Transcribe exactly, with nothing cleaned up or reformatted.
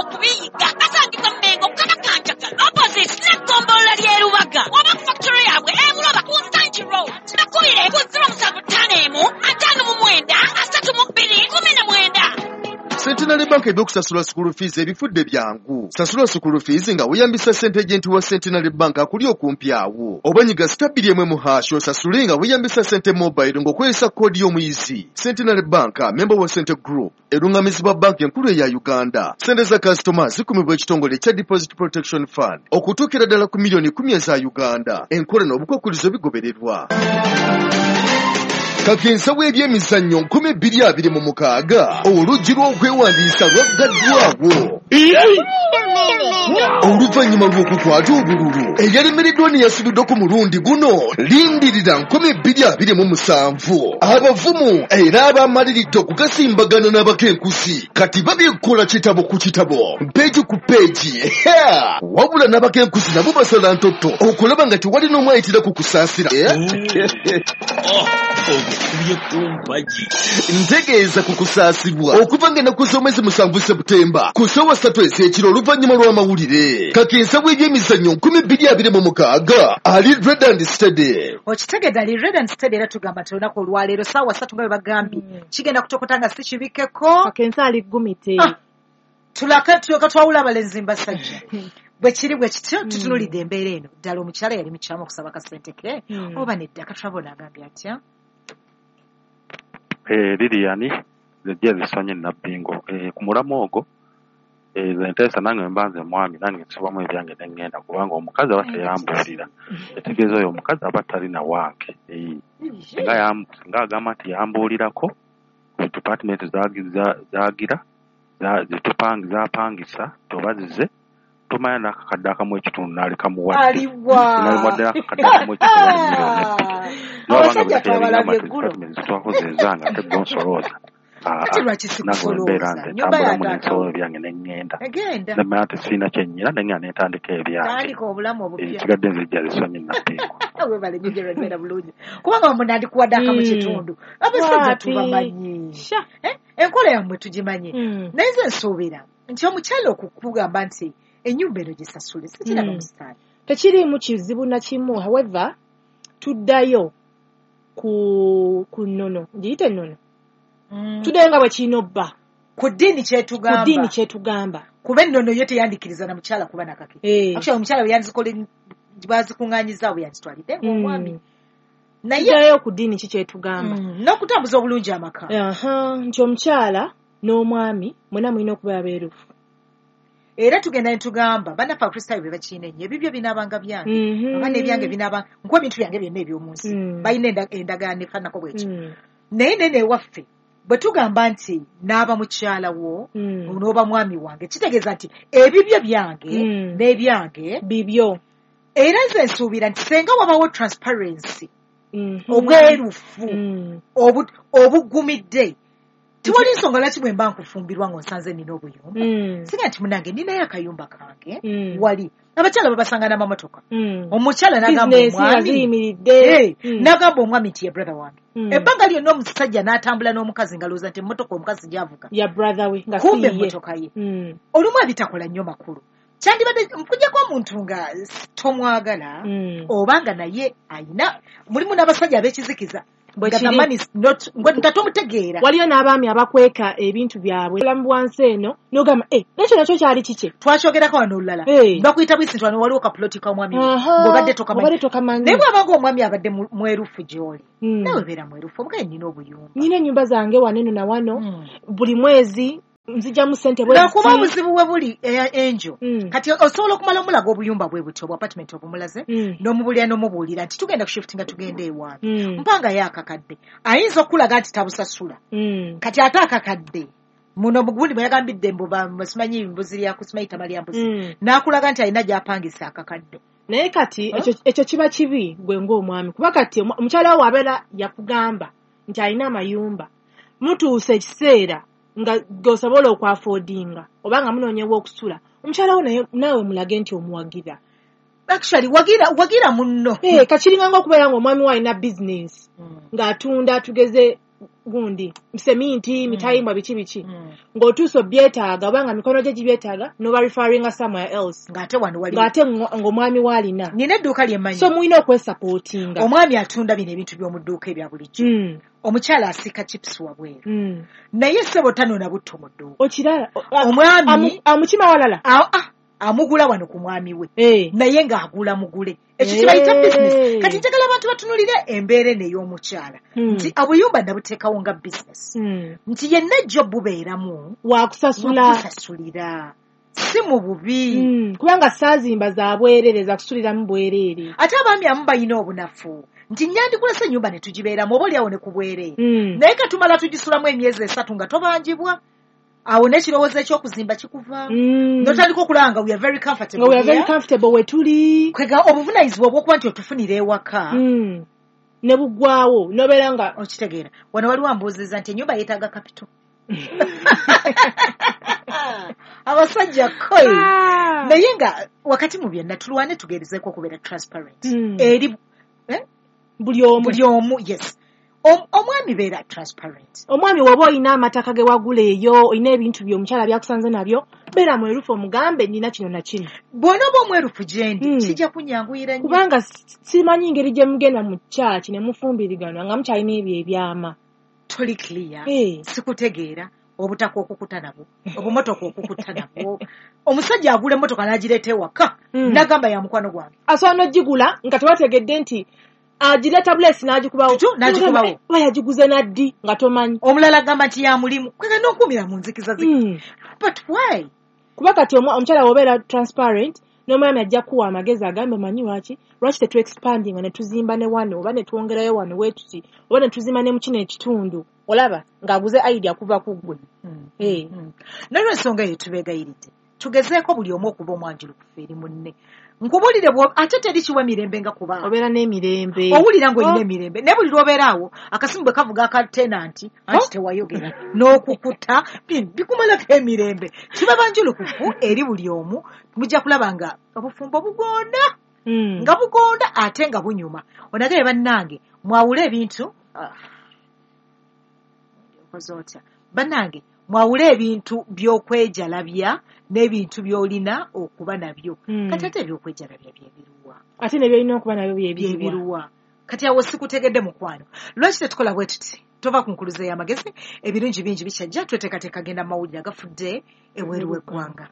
Okubiyiga basangibwa Mmengo, Kabakanjagala, opposite n'eggombolola ly'e Lubaga, oba ku factory yaabwe e Buloba ku Nsangi Road. Bakubire ku zero musanvu ttaano emu ataano mu mwenda asatu mu bbiri kumi na mwenda. Centenary Bank ebyokusasula school fees ebifudde byangu. Sasula school fees nga weeyambisa ssente agent wa Centenary Bank akuli okumpi awo. Oba nyiga star bbiri emu mu hash osasule nga weeyambisa ssente mobile ng'okozesa koodi y'omuyizi. Centenary Bank, member wa Sente Group, erungamizibwa banka enkulu eya Uganda. Ssente za kasitoma zikumibwa ekitongole ekya Deposit Protection Fund okutuukira ddala ku miliyoni kumi eza Uganda. Enkola n'obukwakkulizo bigobererwa. Kakensa w'ebyemizannyo nkumi bbiri abiri mu mukaaga, oluggi lw'okwewandiisa lwaggaddwawo oluvannyuma lw'okukwata obululu eyalemereddwa ne yasubiddwa ku mulundi guno. Lindirira nkumi bbiri abiri mu musanvu, abavumu era abamaliridde okugasimbagana n'abakenkusi kati babikola kitabo ku kitabo, peegi ku peegi. Wabula n'abakenkusi nabo basala ntotto okulaba nga tewali n'omu ayitira ku kusaasira. Ogukubye ku mpagi. Ntegeeza ku kusaasibwa okuva ng'ennaku z'omwezi musanvu Seputemba ku ssaawa ssatu ez'ekiro oluvannyuma lw'amawulire. Kakensa w'ebyemizannyo nkumi bbiri abiri mu mukaaga ali ready and steady. Okitegedde, ali ready and steady. Era tugamba nti olunaku olwaleero saawa ssatu nga bwe bagambye kigenda kutokota nga si kibikeko. Kakensa ali gumite. Ah, tulaka tulyoka twawula abalenzi mbasajja. Bwe kiri bwe kityo, tutunulidde embeera eno. Ddala omukyala yali mukyamu okusaba kasente ke Mm. oba nedda? Katulabona agambye atya? Eh, Lilian, nze zisonye Nabbingo. Eh, ku mulamu ogwo, eh, nze nteesa nange mba nze mwami, nange nsibamu ebyange ne ŋŋenda, kubanga omukazi aba teyambuulira, etegeeza oyo omukazi aba talina wange. Eh, singa yam- singa agamba nti yambuulirako ku department zagi- za- zaagira za- zetupang- zapangisa toba zize, tomanya n'akakadde akamu ekitundu n'alikamuwadde. Aliwa? N'alimuwadde n'akakadde akamu ekitundu, wali miliyoni ebbiri. Abasajja Nowabanga teyalinga twabalabye eggulo. department zitwakoze ezange ate gonsolooza. Kati lwaki Nange wembeera sikusolooza nze nyumba ya ntambulamu taata nensobola wo ebyange ne ŋŋenda, egenda. nemanya nti sirina kyennyina, ne ŋŋenda ne ntandika ebyange. Tandika obulamu obupya. Ekisigadde nze jja zisonye Nabbingo. Webale nnyo Gerald, beera bulungi, kubanga mwe nandikuwadde akamu Mm. kitundu. Abasajja Wapi? tubamanyi. Sha. Eh, enkola yammwe tugimanyi. Mm. Naye nze nsuubira nti omukyala okukugamba nti ennyumba eno gisasule sikiraba Mm. musitaani. Tekiriimu kizibu na kimu. However, tuddayo ku ku nnono, ngiyite ennono, tuddayo nga bwe kirina obba ku ddiini ku kyetugamba. Ddiini kyetugamba. Kuba ennono yo teyandikiriza na mukyala kuba nakake. Eh. Actually, omukyala bwe yandizikole bazikuŋŋaanyiza bwe yanditwalidde ng'omwami. Mm. Naye tuddayo ku ddiini ki kyetugamba. Mm, n'okutambuza obulungi amaka. Aha, nti omukyala n'omwami mwena mulina okubeera beerufu. Era tugenda ne tugamba bannaffe Abakristaayo be bakiina ennyo, ebibyo binaabanga byange Mhm. oba n'ebyange binaabanga, nkuwa ebintu byange byonna eby'omu nsi. Mm. Balina enda- endagaano efaananako bwekyo. Mm. Naye nene ewaffe bwe tugamba nti naaba mukyala wo Mm. n'oba mwami wange, kitegeeza nti ebibyo byange Mm. n'ebyange bibyo. Era nze nsuubira nti senga wabawo transparency, Mhm. obwerufu Mm. obu- obugumidde, tiwali nsonga lwaki bwe mba nkufumbirwa ng'onsanze nina obuyumba, Mm. singa nti munange ninayo akayumba kange. Mm. Wali abakyala babasanga n'amamotoka. Mm. Omukyala n'agamba bizinesi nga omwami ziyimiridde. Eh, Mm. n'agamba omwami nti ye brother wange. Mm. Ebbanga lyonna omusajja n'atambula n'omukazi nga lowooza nti emmotoka omukazi gy'avuga ya brother we, nga si kumbe ye. Emmotoka ye. Mm. Olumu ebitakola nnyo makulu kyandibadde nkujjako omuntu nga tomwagala Mm. oba nga naye ayina mulimu n'abasajja ab'ekizikiza Bwe nga the kiri. man is not nga nga tomutegeera. Waliyo n'abaami abakweka ebintu byabwe obulamu bwansi eno n'ogamba, "Eh, nekyo nakyo kyali kikye." Twakyogerako wano olulala. Eh. Bakuyita bwisi nti wano waliwo kapuloti k'omwami we Aha, ng'obadde tokamanyi. Obadde tokamanyi. Naye bw'abanga omwami abadde mu- mwerufu gy'oli, Mm. naawe beera mwerufu, omugaye nina obuyumba. Nina ennyumba zange wano eno na wano. Mm. Buli mwezi nzijamu ssente bwe Lwakuba ziti. Obuzibu bwe buli, eh, enjo Mm. kati osobola okumala omulaga obuyumba bwe butyo obwa apartment obumulaze Mm. n'omubuulira n'omubuulira nti tugenda kushiftinga tugenda ewange, Mm. mpanga ye akakadde ayinza okukulaga nti tabusasula. Mm. Kati ate akakadde muno mugundi bwe yagambidde mbu ba- simanyi mbuzi lyaku simanyi tama lya mbuzi, Mm. n'akulaga nti alina gy'apangisa akakadde. Naye kati Huh? ekyo ekyo kiba kibi gwe ng'omwami, kuba kati omu- omukyala wo abeera yakugamba nti alina amayumba, mutuuse ekiseera nga g'osobola okwaffordinga oba nga munoonyewo okusula, omukyala wo naye naawe mulage nti omuwagira. Actually, wagira wagira munno. Eh, kakiringa ng'okubeera ng'omwami wo alina bizinesi Mm. ng'atunda, tugeze gundi seminti Mm. mitayimbwa biki biki Mm. ng'otuuse obyetaaga oba nga mikono gye gibyetaaga n'oba referringa somewhere else Ng'ate wano wali ng'ate ngo- ng'omwami w'alina nina edduuka lye mmanyi so mulina okwesapootinga omwami atunda bino ebintu by'omu dduuka ebya bulijjo Mm, omukyala asiika chips wabweru mm. naye ssebo tanona butto mu dduuka okirala o- a- Omwami- amu- amukima walala A- ah, amugula wano ku mwami we Eh. naye ng'agula mugule ekyo kibayita Eh. bizinesi kati njagala abantu batunulire embeera eno ey'omukyala Mm. nti obuyumba nabuteekawo nga bizinesi Mm. nti yenna ejjo bubeeramu wakusasula wakusasulira si mu bubi Mm, kubanga saazimba za bwereere za kusuliramu bwereere ate abaami amu balina obunafu nti nyandikulese ennyumba ne tugibeeramu oba oliawo ne ku bwereere Mm. naye katumala tugisulamu emyezi esatu nga tobanjibwa awo n'ekirowoozo eky'okuzimba kikuvaamu Mm. n'otandika okulaba nga we are very comfortable nga we are very here. comfortable we tuli Kwega obuvunaanyizibwa obw'okuba nti otufunira ewaka Mm. ne buggwawo nobeera nga okitegeera wano waliwo ambuuzizza nti ennyumba yeetaaga kapito abasajja koyi Ah. naye nga wakati mu byonna tulwane tugerezeeko okubeera transparent Mm. eri eh? buli omu buli omu yes Om- omwami beera transparent omwami woba olina amataka ge wagula eyo olina ebintu byo omukyala byakusanze nabyo beera mwerufu omugambe nina kino na kino bw'onooba omwerufu gye ndi Mm. kijja kunyanguyira nnyo kubanga si- simanyi ngeri gye mugenda mu kyaki ne mufumbiriganwa nga mukyalina ebyo ebyama toli clear Eh. sikutegeera obutaka okukuta nabwo obumotoka okukuta nabwo omusajja agula emmotoka n'agireeta ewaka Mm. n'agamba ya mukwano gwange asobola n'ogigula nga tebategedde nti agireeta bulesi n'agikubawo Tutu, n'agikubawo. oba yagiguze naddi nga tomanyi omulala agamba nti ya mulimu kwega n'okuumira mu nzikiza zi Mm. but why kuba kati omwa- omukyala bw'obeera transparent n'omwami ajja kuwa amagezi agambe omanyi lwaki lwaki tetuexpandinga ne tuzimba ne wano oba ne twongerayo wano wetuti oba ne tuzimba ne mu kino ekitundu olaba ng'aguze idea kuva ku ggwe Eh. Mm. Nolwensonga eyo tubeegayiridde tugezeeko buli omu okuba omwanjulukufu eri munne nkubuulire bwo- ate teri kiwa mirembe nga kubaawo obeera n'emirembe owulira ng'olina Oh. emirembe naye buli lw'obeera awo akasimu bwe kavuga aka tenanti anti Oh. tewayogera n'okukuta bi- bikumalako emirembe kiba banjulukufu eri buli omu mujja kulaba nga obufumbo bugonda Mm. nga bugonda ate nga bunyuma onagaye bannange mwawule ebintu Ah. Okoze otya bannange mwawule ebintu by'okwejalabya n'ebintu by'olina okuba nabyo Mm. kati ate ebyokwejalabya byebiruwa ate ne byolina okuba nabyo byebiruwa byebiruwa kati awo sikutegedde mukwano lwaki tetukola bwe tuti tova ku nkuluze y'amagezi ebirungi bingi bikyajja tweteekateeka genda mu mawulire agafudde ebweru w'eggwanga.